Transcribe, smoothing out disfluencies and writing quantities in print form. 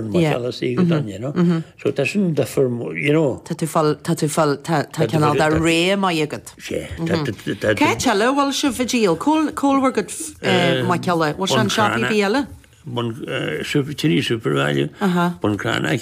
Maigh Cheoil go done, you know. So tá sin difear, you know. Tá tú fáil, tá tú fáil, tá cineál de ré maith agat. Sea. Tá, Cá háit eile a bhfuil sibh ag díol? Cá bhfuil bhur gcuid mairteola? Bhfuil sé in siopaí ar bith eile? Bun, Trinity Supervalu, Bun Cranncha.